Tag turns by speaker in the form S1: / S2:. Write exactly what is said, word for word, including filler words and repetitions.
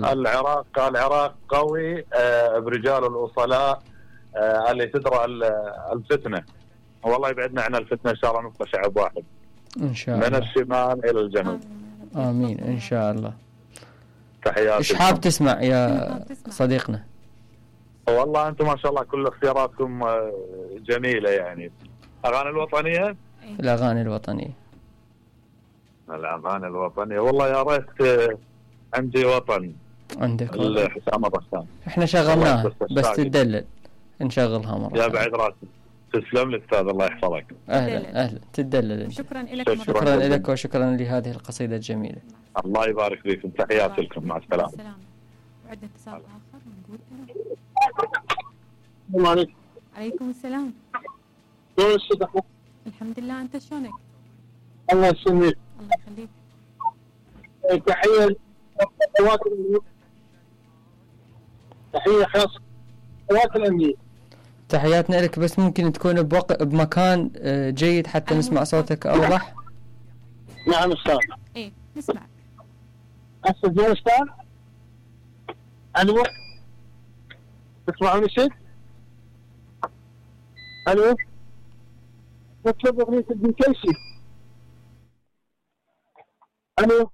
S1: الله.
S2: العراق العراق قوي آه برجال الوصلاء آه اللي تدرى الفتنه، والله يبعدنا عن الفتنه ان شاء الله، نبقى شعب واحد
S1: ان شاء الله
S2: من الشمال الى الجنوب.
S1: امين ان شاء الله.
S2: تحياتي.
S1: ايش حاب تسمع يا صديقنا؟
S2: والله انتم ما شاء الله كل اختياراتكم جميله، يعني اغاني الوطنيه.
S1: الاغاني الوطنيه
S2: الاغاني الوطنيه والله يا ريت عندي وطن.
S1: عندك
S2: حسام الرسام
S1: احنا شغلناها بس تدلل نشغلها مرة
S2: يا بعد راسي. تسلم لي استاذ الله يحفظك.
S1: اهلا اهلا تدلل.
S3: شكرا لك
S1: شكرا لك وشكرا لهذه القصيدة الجميلة.
S2: الله يبارك فيكم. تحياتي لكم. مع السلامة.
S3: وعندنا اتصال اخر نقول
S4: السلام عليكم.
S3: عليكم السلام.
S4: شلون الصدق؟
S3: الحمد لله، انت شلونك؟
S4: الله يسلمك.
S3: الله يخليك.
S4: تحية قوات تحية خاصة قوات الأمنية.
S1: تحياتنا لك، بس ممكن تكون بوق... بمكان جيد حتى نسمع صوتك أوضح.
S4: نعم أستاذ.
S3: إيه نسمع.
S4: هسه زين أستاذ؟ ألو تسمعوني شيء؟ ألو نطلب أغنية ابن كيسي. ألو